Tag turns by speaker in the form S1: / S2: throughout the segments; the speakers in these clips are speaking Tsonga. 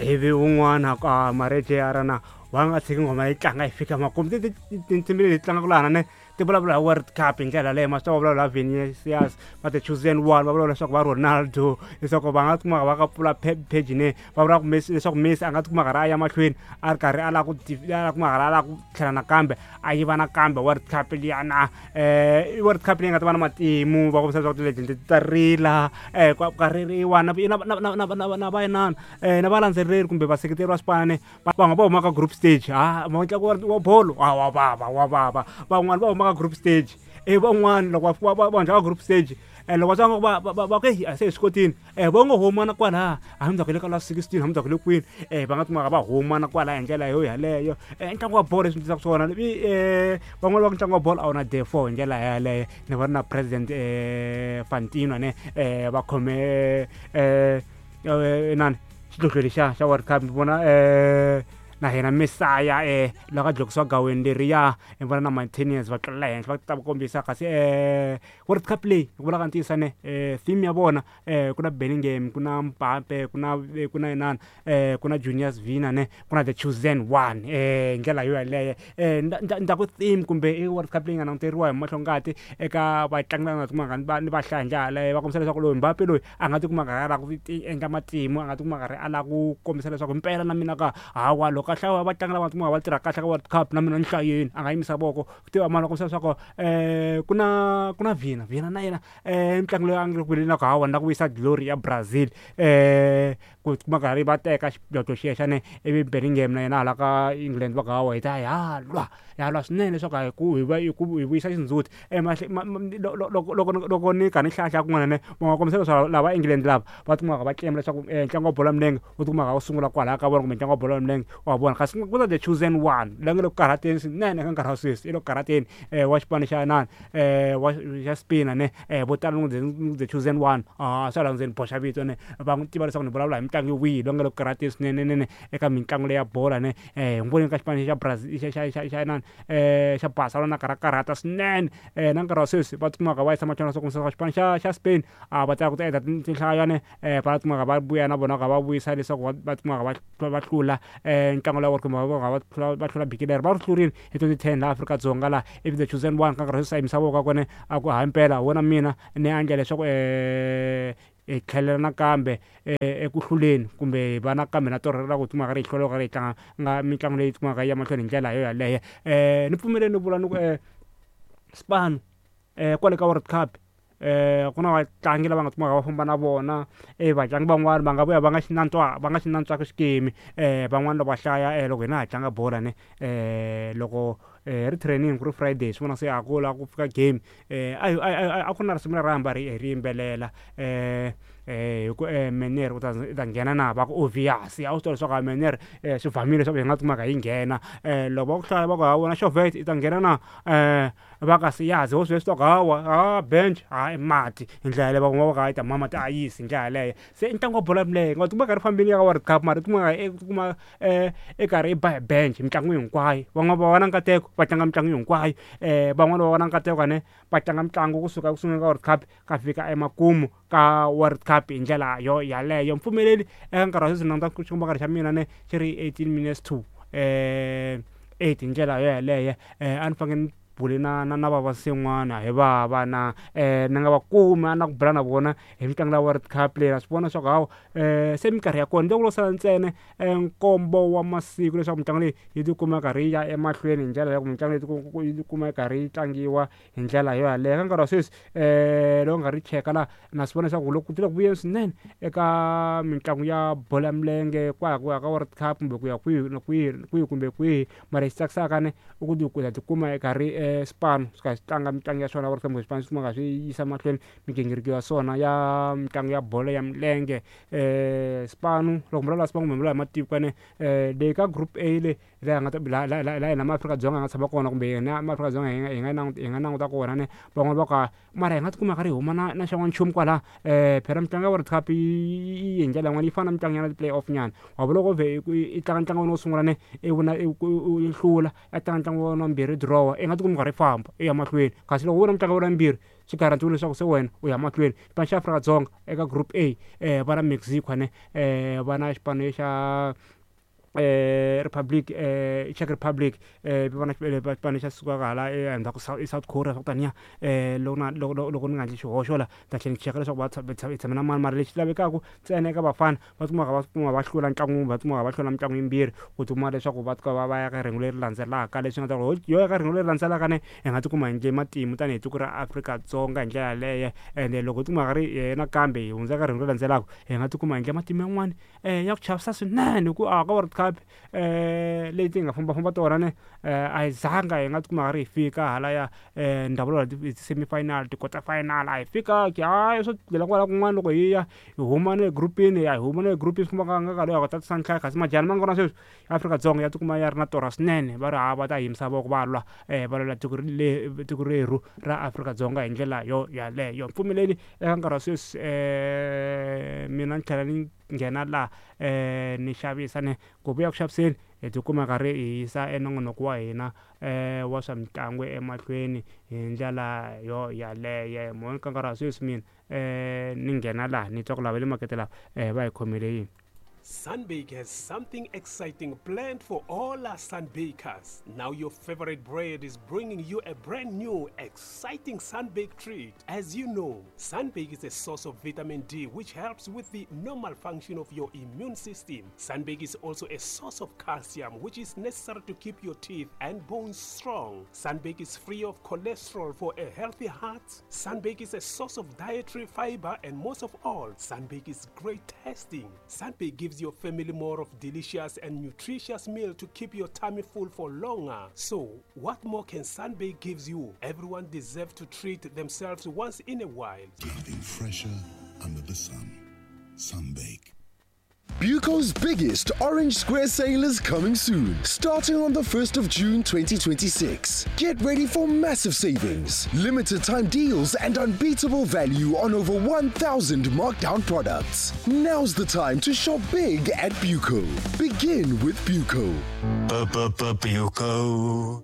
S1: Ivi wun'wana ka marece ya rana wa nga tshiki nghoma yi tlanga yi fika makumu. Tinsimu leti tlangaka lahana ne ti vulavula hi World Cup hi ndlela leyo, ma swi tiva va vulavula hi Vinicius, va the chosen one, va vulavula leswaku va Ronaldo, leswaku va nga tikuma va ka pfula page ne va vula ku Messi, leswaku Messi a nga tikuma karhi a ya mahlweni a ri karhi a lava ku a kuma karhi a lava ku tlhela nakambe a yiva nakambe World Cup liyana. I World Cup leyi nga ta va na matimu, va kombisa leswaku ti-legend ti ta rila, ka ririwa na na na na na na va inana, na valandzeleri kumbe vaseketeri va swipano va nga va huma ka group stage. Ha ntlangu wa bolo wa vava, wa vava. Van'wani va huma ka group stage, i van'wani loko va va hundza ka group stage, loko va twa va ku se hi swi kotile, va ngo huma na kwalaya, hambi ku le ka last 16, hambi ku le kwini, va nga kumaka va huma na kwalaya hi ndlela yo yaleyo. Ntlangu wa bolo leswi ndzi swona, van'wani va ku ntlangu wa bolo a wu na day four hi ndlela yaleyo. Ni vona na president Fantino ne, va khome inani xidlodlo lexiya xa World Cup. Ni vona na hina Mesaya, loko a dlokisiwa gaweni leriya, ni vona na Martinez va tlulela henhla va ta va kombisa. Kasi World Cup leyi ku vulaka ntiyiso ne, theme ya vona, ku na Bellingham, ku na Mbappe, ku na inani, ku na Juniors Vina ne, ku na the chosen one, hi ndlela yo yaleyo. Ndza ku theme kumbe i World Cup leyi nga languteriwa hi mahlo ngati eka vatlangi lava nga tikumaka ni va hlaya hi ndlela yaleyo. Va kombisa leswaku loyi Mbappe loyi a nga tikuma karhi a lava ku endla matimu, a nga tikuma karhi a lava ku kombisa leswaku impela na mina ka hawa loko a hlaya vatlangi lava nga tikuma va tirha kahle ka World Cup, na mina ni hlayeni a nga yimisa voko tiva mani. Va kombisa leswaku ku na Vina na yena, mitlangu leyi a nga ku na ku hawa na ku vuyisa glory ya Brazil, ku kuma karhi va teka xidlodlo xexo ne. Ivi Bellingham na yena hala ka England va ku hawa hi ta ya lwa, ya lwa swinene leswaku hi ku hi va hi ku hi vuyisa xindzhuti. Loko ni kha ni hlaya kun'wana ne, va nga kombisa leswaku lava England lava va tikumaka va claim leswaku ntlangu wa bolo ya milenge wu tikumaka wu sungula kwalaya ka vona, kumbe ntlangu wa bolo ya milenge wa vona. Kasi ku na the chosen one la nga le ku karhateni swinene eka nkarhi wa sweswi, i le ku karhateni, wa xipano xa inani, wa xa Spain ne. Vo tala the chosen one a swa la ndzeni boxa vito ne, va n'wi tiva leswaku ni vulavula hi mitlangu wihi loyi nga le ku karhateni swinene nene eka mitlangu leya bolo ne. Hi n'wi vonile ka xipano xa Brazil, xa inani, xa Barcelona, karhi a karhata swinene. Na nkarhi wa sweswi va tikumaka va yisa mahlweni swa kombisa xipano xa Spain a va tala ku ta endla tinhlaya ne, va tikumaka va vuya na vona ka va vuyisa leswaku va tikumaka va hlula ntlangu lowu kumbe va hlula biki leri va ri hlurile hi 2010 laha Afrika-Dzonga laha. Ivi the chosen one ka nkarhi wa sweswi a yimisa voko ka kone a ku hayi mpela wona mina ni endla leswaku hi tlhelela nakambe eku hluleni, kumbe va nakambe na torha ra ku tikuma karhi hi hlula karhi hi tlanga nga mitlangu leyi tikumaka yi ya mahlweni hi ndlela yo yaleyo. Ni pfumeleni ni vula ni ku spano kwale ka World Cup, ku na vatlangi lava nga tikumaka va famba na vona, vatlangi van'wani va nga vuya va nga xi nantswa, va nga xi nantswaka xikimi. Van'wani loko va hlaya, loko hina ha tlanga bola ne, loko ri training ku ri Friday, swi vona se a ku lava ku fika game, a ku na risimu leri hamba hi ri yimbelela, hi ku Meneer u ta i ta nghena na, va ku obvious. A wu swi tiva leswaku Meneer swi vamile leswaku hi nga tikumaka hi nghena. Loko va ku hlaya va ku ha wena Xovet i ta nghena na, va ka siyazi ho swi swi hawa ha bench ha i mati hi ndlela yaleyo. Van'wana va ku hayi ta mama ti ayisi hi ndlela yaleyo. Se i ntlangu wa bolo ya milenge, nga tikuma karhi fambile ya ka World Cup, mara tikuma i tikuma i karhi i ba hi bench mitlangu hinkwayo. Van'wana va va na nkateko va tlanga mitlangu hinkwayo, van'wani va va na nkateko ne va tlanga mitlangu kusuka eku sunguleni ka World Cup ka fika emakumu ka World Cup hi ndlela yo yaleyo. Mpfumeleli eka nkarhi wa sweswi languta xikomba xa mina ne xi ri 18 minutes to 8 hi ndlela yo yaleyo. A ni fanekele ni bule na vavasin'wana hi vava na, ni nga va kumi a na ku bula na vona hi mitlangu ya World Cup leyi. Na swi vona leswaku hawa, se minkarhi ya kona loko lo sala ntsena nkombo wa masiku leswaku mitlangu leyi yi tikuma karhi yi ya emahlweni hi ndlela ya ku mitlangu leyi yi tikuma yi karhi yi tlangiwa hi ndlela yo yaleyo. Ka nkarhi wa sweswi, loko nga ri cheka laha, na swi vona leswaku loko ku le ku vuyeni swinene eka mitlangu ya bolo ya milenge kwala ku ya ka World Cup kumbe ku ya kwihi na kwihi, kwihi kumbe kwihi. Mara lexi tsakisaka ne i ku ta tikuma i karhi swipano swi karhi swi tlanga mitlangu ya swona World Cup, kumbe swipano swi kumaka swi yisa mahlweni migingiriko ya swona ya mitlangu ya bolo ya milenge. Swipano loko mi vulavula swipano kumbe mi vulavula hi matiko ne, leyi ka group A le laha nga ta laha hina maAfrika-Dzonga hi nga tshama kona, kumbe hina maAfrika-Dzonga hi nga languta kona ne, van'wani va ku mara hi nga tikuma karhi hi huma na xan'wana nchumu kwala. Phela mitlangu ya World Cup yi hi ndlela yin'wana, yi fana na mitlangu ya ti-play off nyana wa vula. Loko vhe i tlanga ntlangu wa wena wo sungula ne, i vona i hlula, i tlanga ntlangu wa wena wa vumbirhi, draw, i nga tikumi karhi i famba i ya mahlweni. Kasi loko wo wina mitlangu ya wena yimbirhi. Swi garantiwile leswaku se wena u ya mahlweni. Xipano xa Afrika-Dzonga eka group A va na Mexico ne, va na xipano xa Republic Czech Republic, va na xipano xa sukaka hala endzhaku South Korea swa ku taniya. Loko na loko loko ni nga endli xihoxo la ni ta tlhela ni cheka leswaku va hi tshame na mani, mara lexi lavekaka ntsena eka vafana va tikuma va kuma va hlula ntlangu, va tikuma va hlula mitlangu yimbirhi ku tikuma leswaku va va va ya ka rhengu leri landzelaka, leswi nga ta ku yo ya ka rhengu leri landzelaka ne hi nga tikuma hi endle matimu tanihi tiko ra Afrika-Dzonga hi ndlela yaleyo. Ende loko hi tikuma ri nakambe hi hundza ka rhengu leri landzelaka, hi nga tikuma hi endle matimu yan'wani ya ku chavisa swinene, hi ku a ka World Cup leti hi nga fambafamba tona ne a hi zanga hi nga tikuma ri hi fika halaya ni ta vula ti-semi-final, ti-quarter final a hi fikanga. Hayi, swo dlela kwala kun'wana loko hi ya hi huma na le group-ini, ya hi huma na le group-ini, swi komba nga nkarhi ya tatisa nhlayo, kasi majani ma nga kona sweswi Afrika-Dzonga ya tikuma ya ri na torha swinene, va ri ha va ta yimisa voko va lwa va lwela tiko tiko rerhu ra Afrika-Dzonga hi ndlela yo yaleyo. Mpfumeleli eka nkarhi wa sweswi mina ni tlhela ni nghena laha ni xavisa ne ku vuya ku xaviseni hi tikuma karhi hi yisa enongonoko wa hina wa swa mitlangu emahlweni hi ndlela yo yaleyo. Mo ka nkarhi wa sweswi mina ni nghena laha ni twa ku lava le makete lava va hi khomele yini.
S2: Sunbake has something exciting planned for all our Sunbakers. Now your favorite bread is bringing you a brand new, exciting Sunbake treat. As you know, Sunbake is a source of vitamin D which helps with the normal function of your immune system. Sunbake is also a source of calcium which is necessary to keep your teeth and bones strong. Sunbake is free of cholesterol for a healthy heart. Sunbake is a source of dietary fiber, and most of all, Sunbake is great tasting. Sunbake gives your family more of delicious and nutritious meal to keep your tummy full for longer. So, what more can Sunbake gives you? Everyone deserves to treat themselves once in a while.
S3: Nothing fresher under the sun. Sunbake.
S4: Buco's biggest Orange Square sale is coming soon, starting on the 1st of June 2026. Get ready for massive savings, limited time deals, and unbeatable value on over 1,000 markdown products. Now's the time to shop big at Buco. Begin with Buco.
S5: Buco.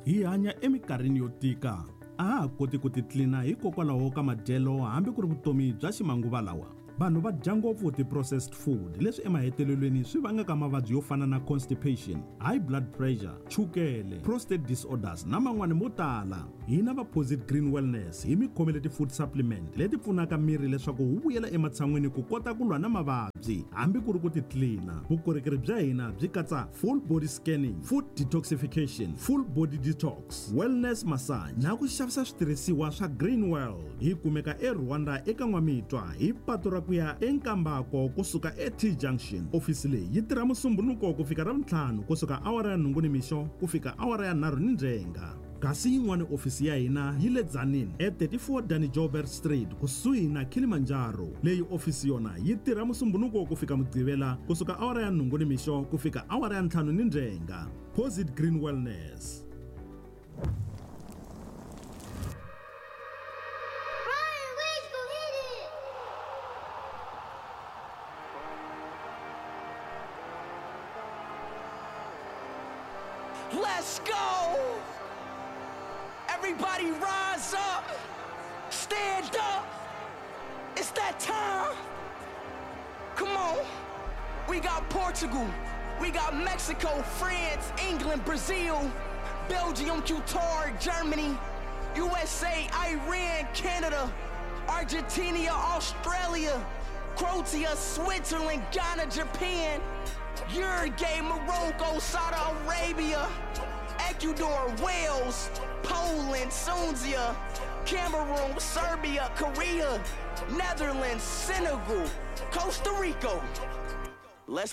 S6: Hi hanya eminkarhini yo tika, a ha ha koti ku titlina hikokwalaho ka madyelo hambi ku ri vutomi bya ximanguva lawa. Vanhu va dya ngopfu ti-processed food, leswi emahetelelweni swi vangaka mavabyi yo fana na constipation, high blood pressure, chukele, prostate disorders na man'wani mo tala. Hina va Posit Green Wellness hi mi khomele ti-food supplement leti pfunaka miri leswaku wu vuyela ematshan'wini ku kota ku lwa na mavabyi hambi ku ri ku titlina. Vukorhokeri bya hina byi katsa full body scanning, food detoxification, full body detox, wellness massage na ku xavisa switirhisiwa swa Green World. Hi kumeka eRwanda eka N'wamitwa hi patu ra ku ya eNkambako kusuka eT Junction. Ofisi leyi yi tirha Musumbunuko ku fika Ravuntlhanu kusuka awara ya 8 nimixo ku fika awara ya 3 nindzhenga. Kasi yin'wana ofisi ya hina yi le Tzaneen e34 Danny Joubert Street kusuhi na Kilimanjaro. Leyi ofisi yona yi tirha Musumbunuko ku fika Mugqivela kusuka awara ya 8 nimixo ku fika awara ya 5 nindzhenga. Posit Green Wellness.
S7: Let's go! Everybody rise up! Stand up! It's that time! Come on! We got Portugal, we got Mexico, France, England, Brazil, Belgium, Qatar, Germany, USA, Iran, Canada, Argentina, Australia, Croatia, Switzerland, Ghana, Japan, Uruguay, Morocco, Saudi Arabia, Ecuador, Wales, Poland, Tunisia, Cameroon, Serbia, Korea, Netherlands, Senegal, Costa Rica. Let's